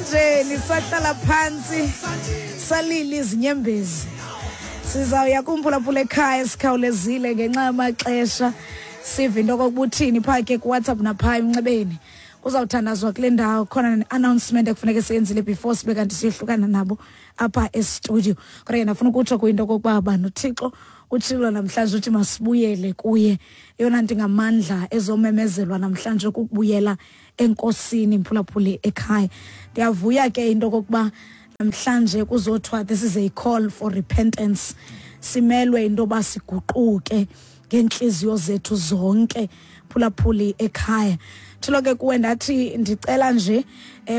Emlanjeni sahlala phantsi salila izinyembezi. Sizawuya kumphulaphula ekhaya sikhawulezile ngenxa yamaxesha, sive into okokuba uthini phaa ke kuWhatsApp naphaa emnxebeni. Kuzawuthandazwa kule ndawo, khona ne-announcement ekufuneka siyenzile before sibe kanti siyohlukana nabo apha estudio. Kodwa ke ndafuna ukutsho kuyinto okokuba banoThixo utshilo namhlanje uthi masibuyele kuye. Eyona nto ingamandla ezomemezelwa namhlanje kukubuyela enkosini, mphulaphuli ekhaya. Ndiyavuya ke into okokuba namhlanje kuzothiwa this is a call for repentance. Simelwe into yoba siguquke ngeentliziyo zethu zonke, phulaphuli ekhaya. Thilo ke kuwe ndathi ndicela nje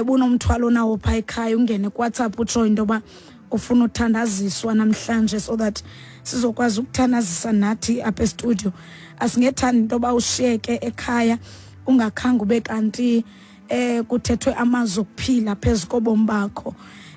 bunomthwalo nawo phaa ekhaya, ungene kuWhatsApp utsho into yoba ufuna uthandaziswa namhlanje so that sizokwazi ukuthandazisa nathi apha estudio. Asingethandi into yoba ushiyeke ekhaya ungakhange ube kanti kuthethwe amazwi okuphila phezu kobomi bakho.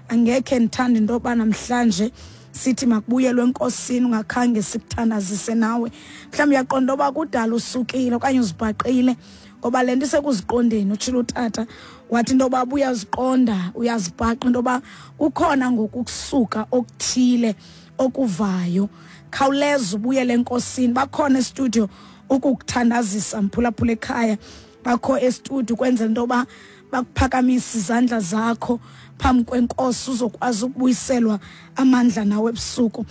Angekhe ndithande into yoba namhlanje sithi makubuyelwe enkosini ungakhange sikuthandazise nawe. Mhlawumbi uyaqonda uba kudala usukile okanye uzibhaqile, ngoba le nto isekuziqondeni. Utshilo utata wathi into yoba uyaziqonda, uyazibhaqa into yoba kukhona ngoku ukusuka okuthile okuvayo. Khawuleza ubuyele enkosini. Bakhona estudio ukukuthandazisa, mphulaphula ekhaya. Bakho estudio ukwenzela into yoba bakuphakamisa izandla zakho phambi kwenkosi, uzokwazi ukubuyiselwa amandla nawe ebusuku.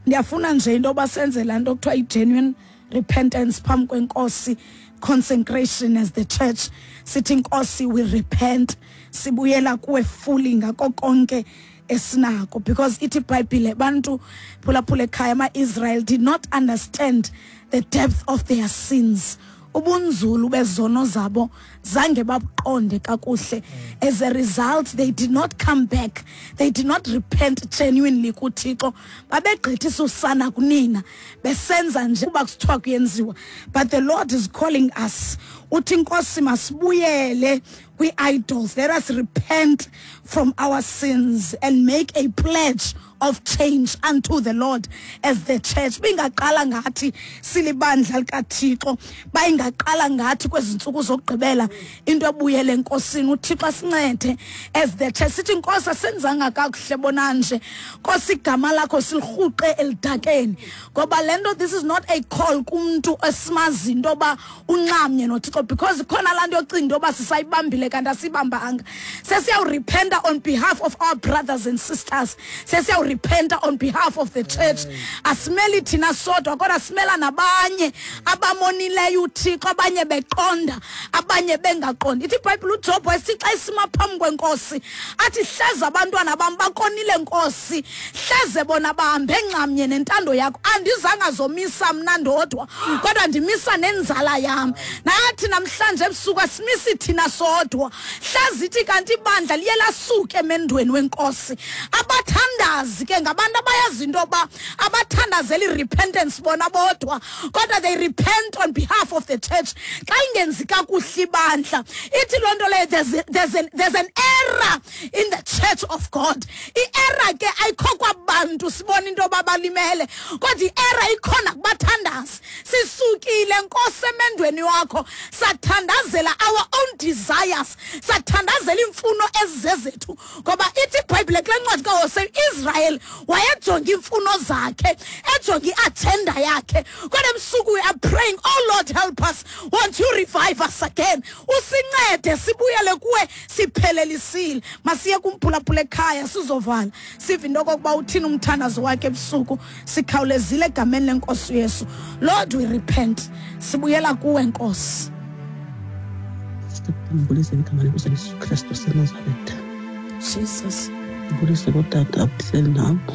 Ndiyafuna nje into yoba senze laa nto kuthiwa i-genuine repentance phambi kwenkosi, consecration as the church. Sithi inkosi, we repent, sibuyela kuwe fully ngako konke esinako, because ithi iBhayibhile, bantu phulaphula ekhaya, ama-Israel did not understand the depth of their sins. Ubunzulu bezono zabo zange babuqonde kakuhle. As a result, they did not come back, they did not repent genuinely kuThixo. Babegqithisa usana kunina, besenza nje kuba kusithiwa kuyenziwa. But the Lord is calling us. Uthi inkosi masibuyele kwi-idols. Let us repent from our sins and make a pledge of change unto the Lord as the church. Bingaqala ngathi silibandla likaThixo, bayingaqala ngathi kwezi ntsuku zokugqibela into ebuyele enkosini. uThixo asincede as the church. Sithi inkosi asenzanga kakuhle bonanje, Nkosi, igama lakho silirhuqe elidakeni. Ngoba le nto, this is not a call kumntu esimazi into yoba unxamnye noThixo, because khona laa nto yocinga into yoba sisayibambile kanti asiyibambanga. Sesiyawurepenta on behalf of our brothers and sisters, sesiyawurepenta on behalf of the church. Asimeli thina sodwa, kodwa simela nabanye abamonileyo uThixo, abanye beqonda, abanye bengaqondi. Ithi iBhayibhile uJob wayesithi xa isima phambi kwenkosi athi, hleze abantwana bam bakonile nkosi, hleze bona bahambe nxamnye nentando yakho. Andizanga zomisa mna ndodwa, kodwa ndimisa nenzala yam. Nathi namhlanje ebusuku asimisi thina sodwa, hleze ithi kanti ibandla liye lasuka emendweni wenkosi. Abathandazi ke ngabantu abayazi into yoba abathandazela i-repentance bona bodwa, kodwa they repent on behalf of the church. Xa ingenzi kakuhle ibandla, ithi loo nto leyo there's an error in the church of God. I-error ke ayikho kwabantu sibona into yoba balimele, kodwa i-error ikhona kubathandazi. Sisukile nkosi emendweni wakho, sathandazela our own desires, sathandazela iimfuno ezizezethu. Ngoba ithi iBhayibhile kule ncwadi kaHosea, Israel wayejonga iimfuno zakhe, ejonga i-agenda yakhe. Kodwa ebusuku we are praying, oh Lord, help us, won't you revive us again, usincede sibuyele kuwe siphelelisile. Masiye kumphulaphula ekhaya, sizovala sive into okokuba uthini umthandazo wakhe ebusuku. Sikhawulezile egameni lenkosi uYesu. Lord, we repent, sibuyela kuwe nkosi. Ndibulise ngegama lenkosi Yesu Kristu seNazaretha. Jesus. Ndibulise kootata abahleli nabo,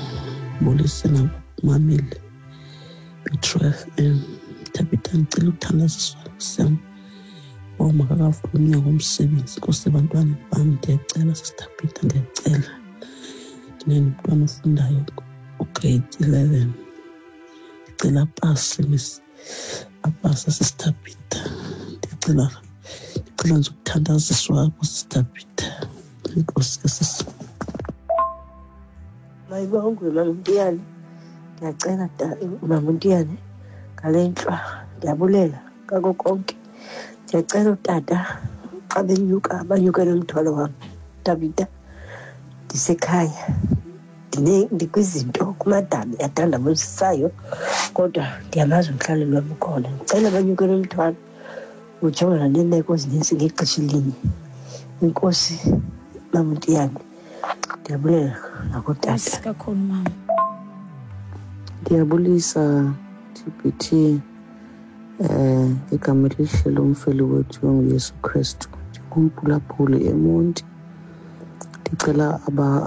ndibulise nabamameli beTrue FM. Thabitha, ndicela ukuthandaziswa sam uba makakavuli umnyango womsebenzi Nkosi ebantwaneni bam. Ndiyacela, Sisithabitha, ndiyacela. Ndinomntwana ofundayo ugrade 11, ndicela apase, miss, apase, Sisithabitha. Ndicela nje ukuthandaziswa apho, Sisithabitha. Enkosi ke, sisi. Mayibongwe, Mama Mtiyane. Ndiyacela, Mama Mtiyane, ngale ntlwa ndiyabulela ngako konke. Ndiyacela utata xa benyuka banyuke nomthwalo wam. Sister Peter. Ndisekhaya. Ndikwizinto kumadabi athandabuzisayo kodwa ndiyamazi umhlaleli wam ukhona. Ndicela banyuke nomthwalo ujongana neemeko ezininzi ngexesha elinye. Inkosi Mamntiyane, ndiyabulela nakutata. Kakhulu mama. Ndiyabulisa TBT, igama elihle lomfeli wethu onguYesu Kristu. Ndingumphulaphuli eMonti. Ndicela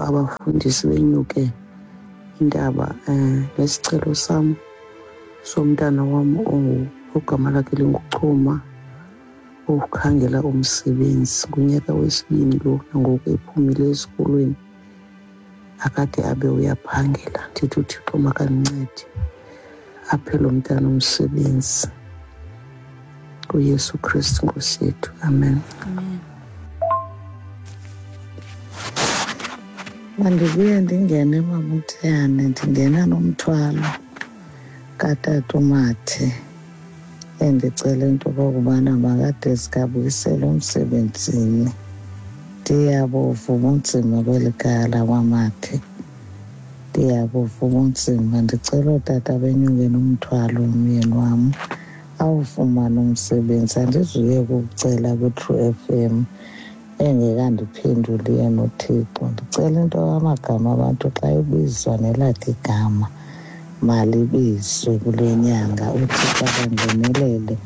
abafundisi benyuke intaba nesicelo sam somntana wam ogama lakhe linguChuma, okhangela umsebenzi ngunyaka wesibini lo nangoku ephumile esikolweni, akade abe uyaphangela. Ndithi uThixo makandincede aphe lo mntana umsebenzi kuYesu Kristu Nkosi yethu. Amen. Amen. Mandibuye ndingene Mamthiyane, ndingena nomthwalo katata uMathe endicela into okokubana makade sikabuyisele umsebenzini. Ndiyabuva ubunzima kweli khaya lakwaMathe, ndiyabuva ubunzima. Ndicela ootata benyuke nomthwalo umyeni wam awufumane umsebenzi. Andizuye ukucela kwi-True FM engekandiphenduli yena uThixo. Ndicela into amagama abantu xa ebizwa nelakhe igama malibizwe kule nyanga, uThixo akangenelele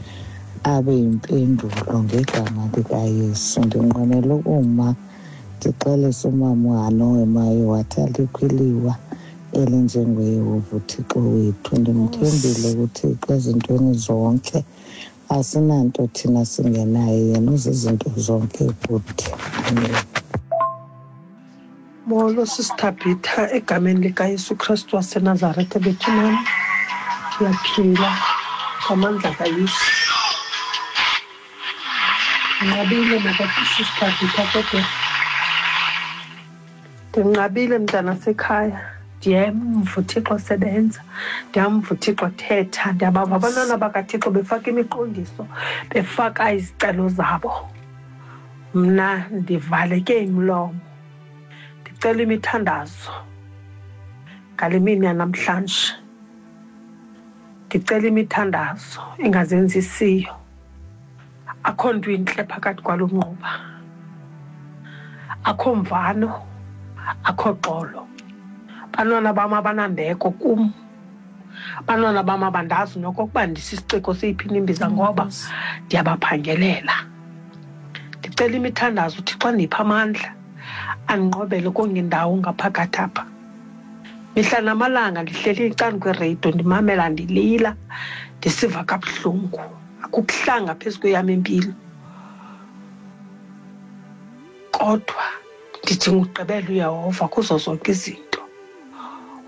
abe yimpendulo ngegama likaYesu. Ndinqwenela ukuma ndixelise umama uHanowe Mayo wathi alikho iliwa elinjengoYehova uThixo wethu. Ndimthembile kuThixo ezintweni zonke, asinanto thina singenaye, yena uzizinto zonke kuthi. Amen. Molo Sister Peter, egameni likaYesu Kristu waseNazaretha bethunam, ndiyaphila ngamandla kaYesu. Ndinqabile Sister Peter, kodwa ndinqabile mntanasekhaya. Ndiyamva uThixo sebenza, ndiyamva uThixo thetha, ndiyabava abantwana bakaThixo befaka imiqondiso, befaka izicelo zabo. Mna ndivaleke imilomo, ndicela imithandazo ngale mini yanamhlanje. Ndicela imithandazo engazenzisiyo. Akho nto intle phakathi kwalo mnquba, akho mvano, akho xolo. Bantwana bam abanambeko kum, bantwana bam abandazi nokokuba ndisisiciko seyiphi imbiza ngoba ndiyabaphangelela. Ndicela imithandazo uThixo andiphe amandla, andinqobele kongendawo ngaphakathi apha. Mihla namalanga ndihleli ecaleni kwereyido ndimamela, ndilila, ndisiva kabuhlungu. Akukuhlanga phezu kweyam impilo, kodwa ndidinga ukugqibela uYehova kuzo zonke izinto.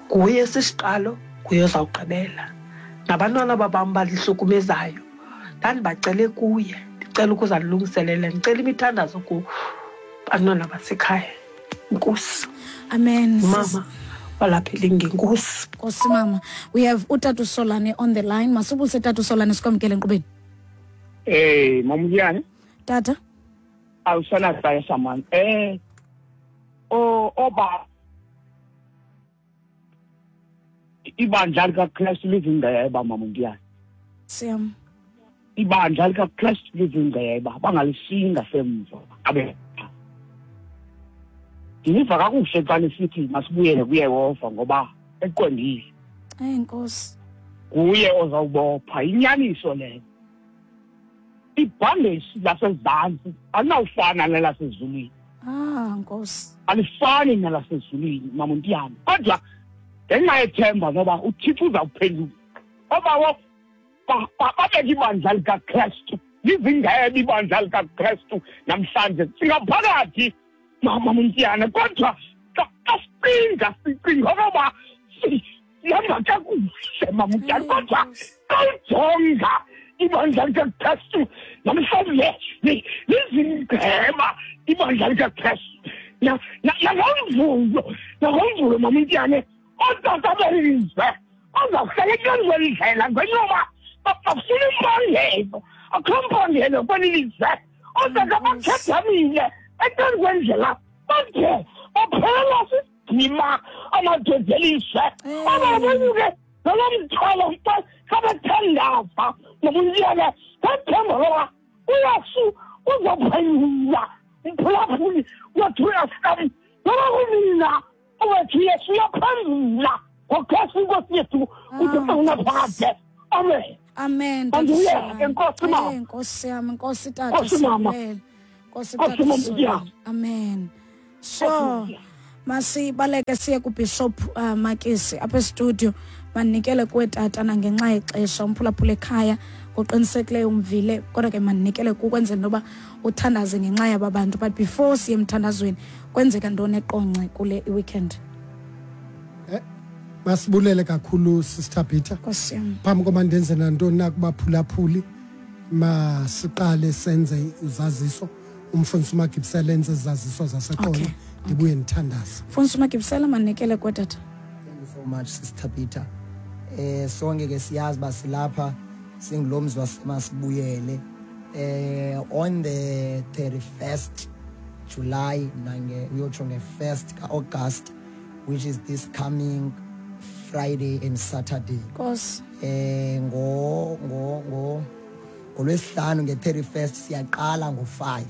Nguye sisiqalo, nguye ozawugqibela. Nabantwana babam balihlukumezayo ndandibacele kuye, ndicela ukuze andilungiselele, ndicela imithandazo kubantwana basekhaya. Nkosi. Amen. Mama walapha elingenkosi. Nkosi mama. We have uTata Solane on the line. Masibulise Tata Solane, sikwamkele enkqubeni. Hey, Mamuyane. Tata. Awusana xesha man. Oba ibandla likaKristu lizingceba Mamuyane. Siyam. Ibandla likaKristu lizingceba, bangalisinga semva. Abe ndiniva kakuhle xa nisithi masibuyele kuYehova ngoba eqondile. Enkosi. Nguye ozawubopha inyaniso leyo. Ibhandeshi lasezantsi alinawufana nelasezulwini. Ah, Nkosi. Alifani nelasezulwini Mamuntiyane. Kodwa ngenxa yethemba ngoba uThixo uzawuphendula. Obawo babeke ibandla likaKristu, lizingebe ibandla likaKristu namhlanje singaphakathi Mamuntiyane. Kodwa xa sicinga sicinga okoba sihamba kakuhle Mamuntiyane, kodwa xa ujonga ibandla likaKristu namhlanje lizingceba ibandla likaKristu. Nangomvulo Mamuntiyane, ootata belizwe bazawuhlala etyenzweni indlela ngenyoba bafuna impangelo, akho mpangelo kweli lizwe. Ootata bakhedamile etyenzweni indlela, Bade baphelelwa sisidima amadoda elizwe. Abanyuke nalo mthwalo xa bethandaza nobunyana ngethemba loba uYesu uzawuphendula umphulaphuli wethu FM noba kunina owethu Yesu uyaphendula ngoKristu iNkosi yethu kude unaphakade. Amen. Amen. Anduyeke, Nkosi mama. Nkosi yam, Nkosi tata. Nkosi mama. Nkosi Nkosi tata. mama, Sibulela. yeah. Amen. So masibaleke siye kuBishop Makisi apha estudio, manikele kuwe tata nangenxa yexesha umphulaphula ekhaya ngoqinisekileyo umvile, kodwa ke manikele kukwenzela intoba uthandaze ngenxa yaba bantu. But before siye emthandazweni, kwenzeka ntoni eQonce kule weekend? Masibulele kakhulu, Sister Peter. Nkosi yam. Phambi koba ndenze nantoni na kubaphulaphuli, masiqale senze izaziso. Umfundisi uMagibisela enze izaziso zaseQonce. Okay. Ndibuye ndithandaze. Mfundisi uMagibisela, manikele kuwe tata. Thank you so much, Sister Peter. Sonke ke siyazi uba silapha singulo mzi waseMasibuyele. On the 31st July nange uyotsho nge-1st ka-August, which is this coming Friday and Saturday. Nkosi. Ngo ngo ngo ngolwesihlanu nge-31st siyaqala ngo-5.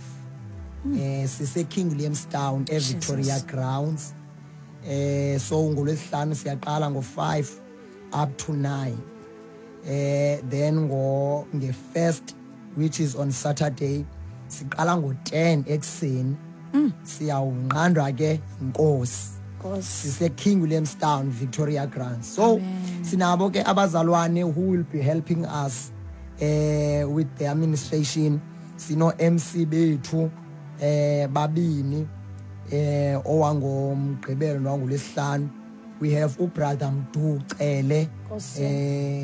Sise King William's Town eVictoria Jesus. Grounds. So ngolwesihlanu siyaqala ngo-5 up to 9. Then ngo nge-1st, which is on Saturday, siqala ngo-10 ekuseni. Siyawunqandwa ke inkosi. Nkosi. Sise King William's Town, Victoria Grounds. So Amen. sinabo ke abazalwane who will be helping us with the administration. Sino MC bethu babini, owangomgqibelo nowangolwesihlanu. We have uBrother Mdu Cele. Nkosi.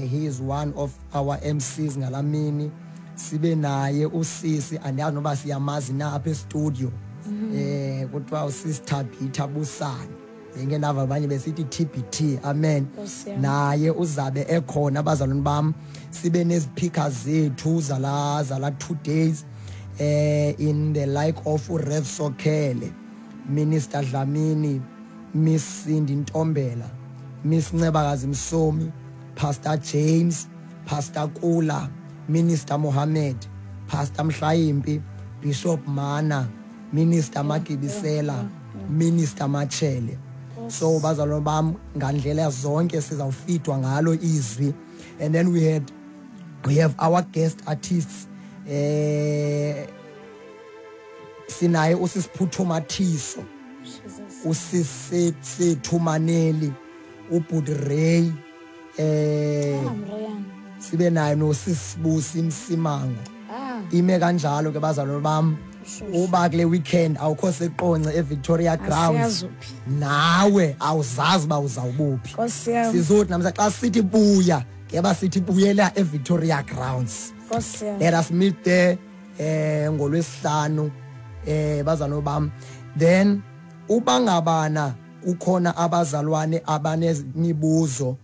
He is one of our MCs ngalamini. Sibe naye usisi, andiyazi noba siyamazi na apha estudio. Kuthiwa usisi Thabitha Busane. Ngeke nava abanye besithi TBT. Amen. Nkosi yam. Naye uzabe ekhona abazalwane bam. Sibe neziphika zethu zala 2 days, in the like of Rev Sokhele, Minister Dlamini, Miss Cindy Ntombela, Miss Ncebakazi Msomi, Pastor James, Pastor Kula, Minister Mohammed, Pastor Mhlayimpi, Bishop Mana, Minister Magibisela, Minister Machele. So bazalwane bam, ngandlela zonke sizawufidwa ngalo izwi. And then we have our guest artists. Sinaye usisiphuthu Mathiso, usisisethu Maneli, uBhut Ray, sibe naye nosisibusi Msimango. Ime kanjalo ke bazalwane bam. Uba kule weekend awukho seQonce eVictoria Grounds, Asiyazi uphi. nawe awuzazi uba uzawubuphi. Nkosi yam. Sizothi namhla xa sithi buya, ngeba sithi buyela eVictoria Grounds. Nkosi yam. Let us meet there ngolwesihlanu, bazalwane bam. Then uba ngabana kukhona abazalwane abanemibuzo,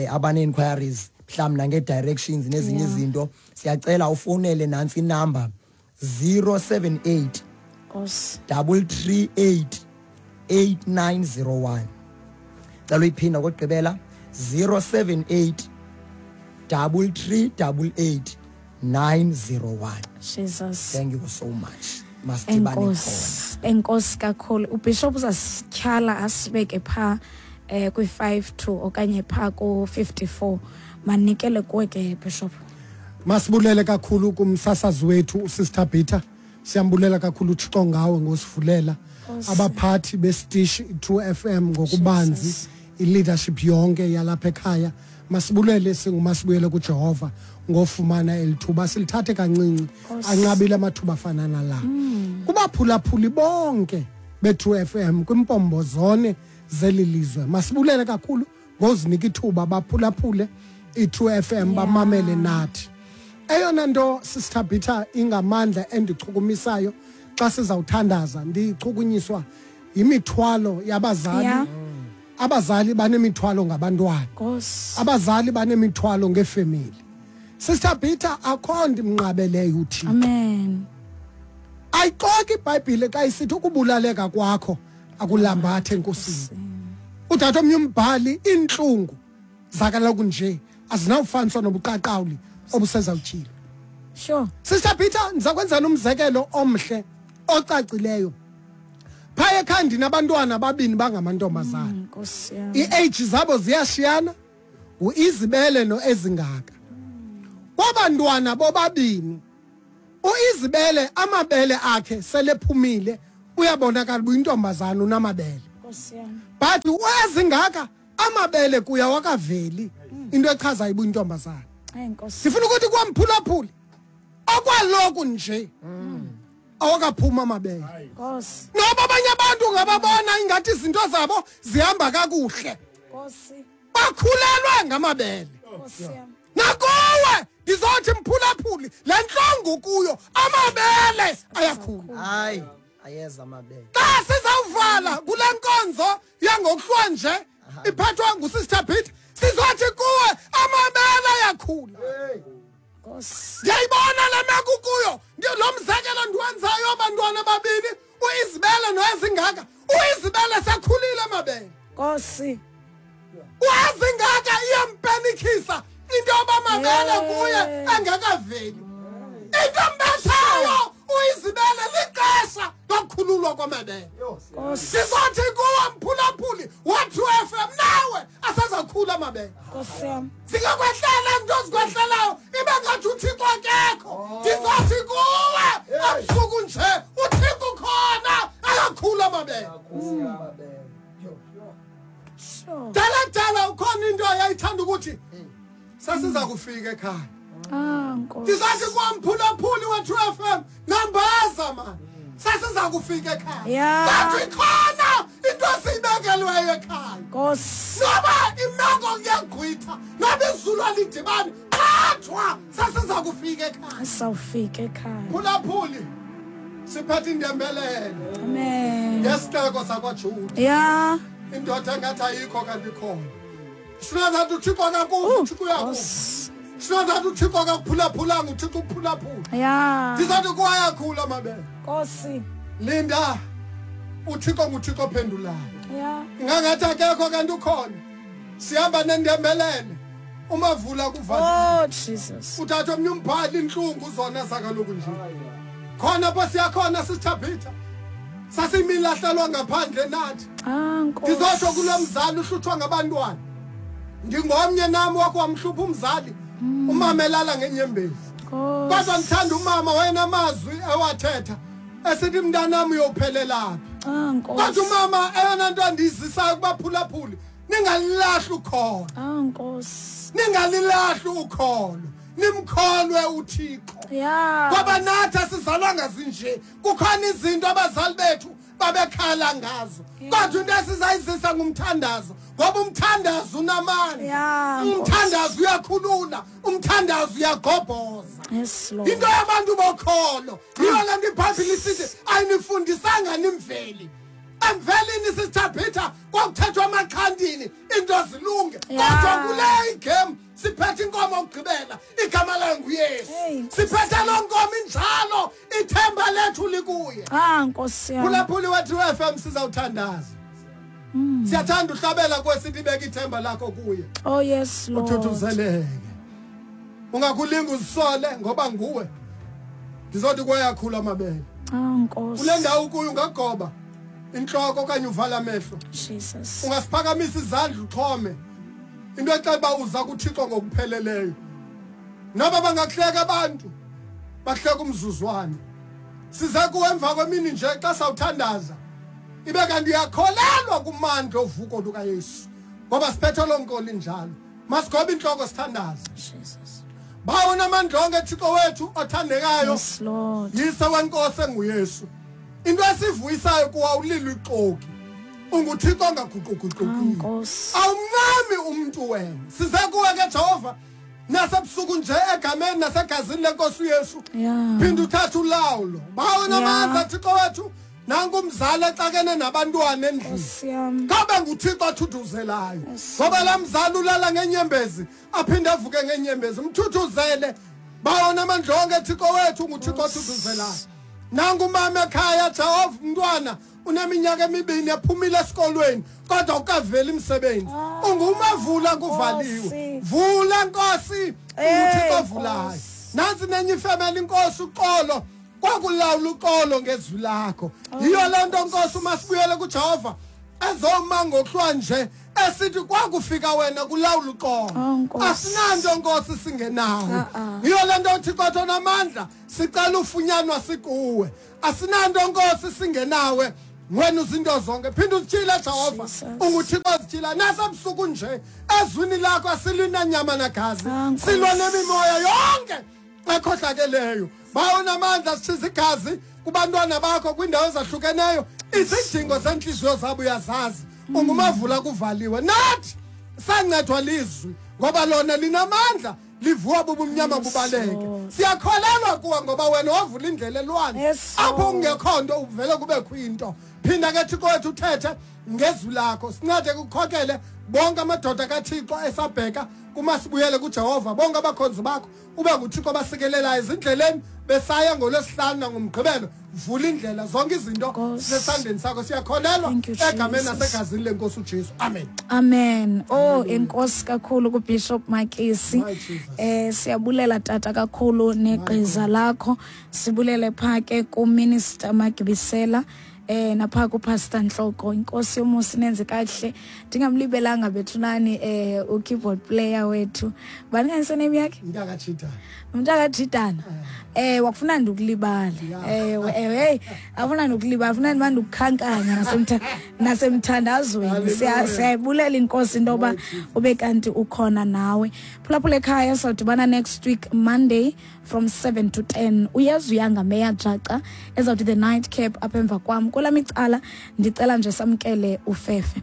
abane inquiries mhlawumbi nange directions nezinye izinto, siyacela ufonele nansi inumber 078 Nkosi. 338 8901. Cela uyiphinda kokugqibela, 078 338 901. Jesus. Thank you so much. Masidibane khona. Enkosi, enkosi kakhulu. UBishop uzasityhala asibeke pha kwi-52 okanye pha ku-54. Manikele kuwe ke, Bishop. Masibulele kakhulu kumsasazi wethu uSister Peter. Siyambulela kakhulu uThixo ngawe ngosivulela. Abaphathi besitishi True FM ngokubanzi, Jesus. i-leadership yonke yalapha ekhaya. Masibulele singumasibuyele kuJehova ngofumana elithuba, silithathe kancinci, anqabile amathuba afana nala. Kubaphulaphuli bonke be-True FM kwimpombo zone zeli lizwe, masibulele kakhulu ngozinika ithuba baphulaphule i-True FM, bamamele nathi. Eyona nto, Sister Peter, ingamandla endichukumisayo xa sizawuthandaza, ndichukunyiswa yimithwalo yabazali. Abazali banemithwalo ngabantwana. Nkosi. Abazali banemithwalo ngefemeli. Sister Peter, akho nto imnqabeleyo uThixo. Amen. Ayixoki iBhayibhile xa isithi ukubulaleka kwakho akulambathe enkosini. Uthatha omnye umbhali, iintlungu zakaloku nje azinawufaniswa nobuqaqawuli obusezawutyhila. Sure. Sister Peter, ndiza kwenzela umzekelo omhle ocacileyo. Phaya ekhaya ndinabantwana ababini bangamantombazana. Nkosi yam. I-age zabo ziyashiyana, uIzibele noEzingaka. Kwabantwana bobabini, uIzibele amabele akhe selephumile, uyabonakala uba uyintombazana unamabele. Nkosi yam. But uEzingaka amabele kuya wakaveli, into echazayo uba uyintombazana. Eyi Nkosi. Ndifuna ukuthi kwamphulaphuli okwaloku nje awakaphuma amabele. Nkosi. Noba abanye abantu ungababona ingathi izinto zabo zihamba kakuhle, Nkosi. bakhulelwe ngamabele. Nkosi yam. Nakuwe ndizothi mphulaphuli, le ntlongu kuyo amabele ayakhula. Hayi, ayeza amabele. Xa sizawuvala kule nkonzo yangokuhlwa nje iphathwa nguSister Peter, sizothi kuwe amabele ayakhula. Nkosi. Ndiyayibona le meko kuyo. Lo mzekelo ndiwenzayo abantwana ababini, uIzibele noEzingaka. uIzibele sekhulile amabele. Nkosi. UEzingaka iyampenikisa into yoba amabele kuye engekaveli. Into embethayo uIzibele lixesha lokukhululwa kwamabele. Nkosi. Sizothi kuwe mphulaphuli wa-True FM, nawe asazakhula amabele. Nkosi yam. Zingakwehlela into ezikwehlelayo ibe ngathi uThixo akekho. Ndizothi kuwe ebusuku nje uThixo ukhona, akakhula amabele. Sure. Dala dala ukhona into ayayithanda ukuthi sasiza kufika ekhaya. Ah Nkosi. Ndizathi kwamphulaphuli wa-True FM, nambaza man, sasiza kufika ekhaya. Yeah. Kanti ikhona into esiyibekelweyo ekhaya. Nkosi. Noba imeko kuyagqwitha, noba izulu alidibani, qhathwa sasiza kufika ekhaya. Sawufika ekhaya. Phulaphuli, siphethe indembelele Amen. ngesixeko sakwaJuda. Yeah. Indoda engathi ayikho kanti ikhona. Singazathi uThixo akakuva, uThixo uyakuva. Nkosi. Singazathi uThixo akakuphulaphulanga, uThixo uphulaphula. Yeah. Ndizathi kwayakhula amabele. Nkosi. Linda, uThixo nguThixo ophendulayo. Yeah. Ingangathi akekho kanti ukhona. Sihamba nendembelele, umavula kuvalile. Oh Jesus. Uthatha omnye umbhali, intlungu zona zakaloku nje. Khona apho siyakhona Sister Peter, sasimilahlelwa ngaphandle nathi. Ah Nkosi. Ndizotsho kulo mzali uhlutshwa ngabantwana. Ndingomnye nami wakho wamhlupha umzali, umama elala ngenyembezi. Nkosi. Kodwa ndithanda umama wayenamazwi ewathetha esithi mntanam uyophelelaphi. Ah Nkosi. Kodwa umama eyona nto andiyizisayo kubaphulaphuli, ningalilahli ukholo. Ah Nkosi. Ningalilahli ukholo. Nimkholwe uThixo. Yeah. Ngoba nathi asizalwanga zinje. Kukhona izinto abazali bethu babekhala ngazo. Kodwa into esizayizisa ngumthandazo, ngoba umthandazo unamandla. Yeah, Nkosi. Umthandazo uyakhulula, umthandazo uyagobhoza. Yes Lord. Into yabantu bokholo yiyo le nto iBhayibhile isithi ayinifundisanga nimveli. Emvelini Sister Peter kwakuthethwa amaxhantini into zilunge. Yeah. Kodwa kule igame siphethe inkomo yokugqibela, igama layo nguYesu. Hey, Nkosi. Siphethe loo nkomo injalo, ithemba lethu likuye. Ah Nkosi yam. Phulaphuli wa-True FM, sizawuthandaza. Siyathanda uhlabela kwesithi ibeke ithemba lakho kuye. Oh yes Lord. Uthuthuzeleke. Ungakulinga uzisole ngoba nguwe. Ndizothi kwayakhula amabele. Ah Nkosi. Kule ndawo kuyo ungagoba intloko okanye uvala amehlo. Jesus. Ungasiphakamisa izandla uxhome. Into exela uba uza kuThixo ngokupheleleyo. Noba bangakuhleka abantu, bahleka umzuzwana. Size kuwe emva kwemini nje xa sawuthandaza. Ibe kanti uyakholelwa kumandla ovuko lukaYesu. Ngoba siphethe loo nkolo injalo. Masigobe intloko sithandaze. Jesus. Bawo namandla onke Thixo wethu othandekayo. Yes Lord. Yise wenkosi enguYesu. Into esivuyisayo kuwa ulilo ixoki. UnguThixo ongaguquguqukiyo. Ah Nkosi. Awumncami umuntu wena. Size kuwe ke Jehova nasebusuku nje egameni nasegazini lenkosi uYesu. Yeah. Phinda uthathe ulawulo. Bawo namandla Thixo wethu, nanku umzali exakene nabantwana endlini. Nkosi yam. Kabe nguThixo othuthuzelayo. Ngoba laa mzali ulala ngenyembezi, aphinde avuke ngenyembezi. Mthuthuzele. Bawo namandla onke Thixo wethu, nguThixo othuthuzelayo. Nangu umama ekhaya, Jehova, umntwana uneminyaka emibini ephumile esikolweni kodwa ukaveli umsebenzi. Ungumavula kuvaliwe. Vula Nkosi, uThixo ovulayo. Nansi nenye ifemeli Nkosi, uxolo kwakulawula uxolo ngezwi lakho. Yiyo le nto Nkosi uma sibuyele kuJehova ezoma ngokuhlwa nje esithi kwakufika wena kulawula uxolo. Asinanto Nkosi singenawo. Yiyo le nto uThixo athi onamandla sicela ufunyanwa sikuwe. Asinanto Nkosi singenawe, wena uzinto zonke. Phinda uzitshile Jehova, unguThixo ozitshila nasebusuku nje ezwini lakho asilwi nanyama nagazi, silwa nemimoya yonke ekhohlakeleyo. Bawonamandla sitshiza igazi kubantwana bakho kwiindawo ezahlukeneyo, izidingo zentliziyo zabo uyazazi. Ungumavula kuvaliwe. Nathi sancedwa lizwi ngoba lona linamandla, livuwa bubumnyama bubaleke. Siyakholelwa kuwe ngoba wena wavula indlela elwandle apho kungekho nto uvele kubekho into. Phinda ke Thixo wethu uthethe ngezwi lakho, sincede kukhokele bonke amadoda kaThixo esabheka kumasibuyele kuJehova, bonke abakhonzi bakho ube nguThixo abasikelelayo ezindleleni besaya ngolwesihlanu nangomgqibelo. Vula indlela, zonke izinto zisesandleni sakho. Siyakholelwa egameni nasegazini lenkosi uJesu. Amen. Amen. Oh, enkosi kakhulu kuBishop Makisi. Siyabulela tata kakhulu negqiza lakho. Sibulele pha ke kuMinister Magibisela, napha kuPastor Nhloko. Inkosi yomusa nenze kahle. Ndingamlibelanga bethunani u-keyboard player wethu. Bani kanye name yakhe? Mntaka Mntaka wakufuna ndikulibale. Hey, afuna ndikulibala, afuna ndimande ukukhankanya nasemthandazweni. Siyayibulela inkosi intoba ube kanti ukhona nawe. Phulaphula ekhaya, sawudibana next week Monday from 7 to 10. Uyazi uyanga Meya Jaca ezawuthi the night cap apha emva kwam. Kwelam icala ndicela nje samkele ufefe.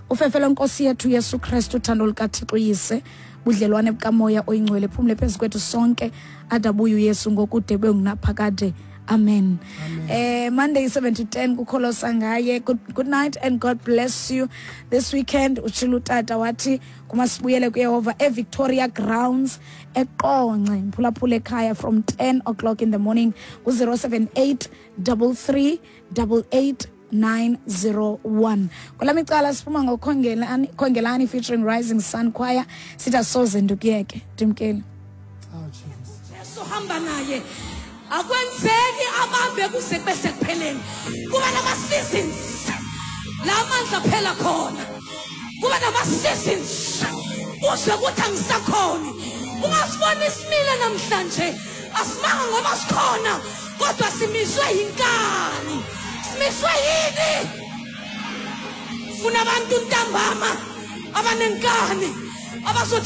Ufefe lenkosi yethu Yesu Kristu, uthando lukaThixo uYise, budlelwane bukamoya oyingcwele phumle phezu kwethu sonke adabuye uYesu ngokude bengunaphakade. Amen. Monday 7 to 10 kukholosa ngaye. Good night and God bless you. This weekend utshilo utata wathi kumasibuyele kuYehova eVictoria Grounds eQonce, mphulaphula ekhaya from 10 o'clock in the morning ku 078 33 88 901. Kwelami icala siphuma ngokhongelani Khongelani featuring Rising Sun Choir. Sithi asoze ndukuyeke. Ndimkeli. Jesu hamba naye. Akwenzeki abambe kuze kube sekupheleni. Kuba nama seasons. La mandla phela khona. Kuba nama seasons. Uzwe ukuthi angisakhoni. Ungasibona isimile namhlanje. Asimanga ngoba sikhona, kodwa simiswe yinkani. Simiswe yini? Funa abantu ntambama abanenkani abazothi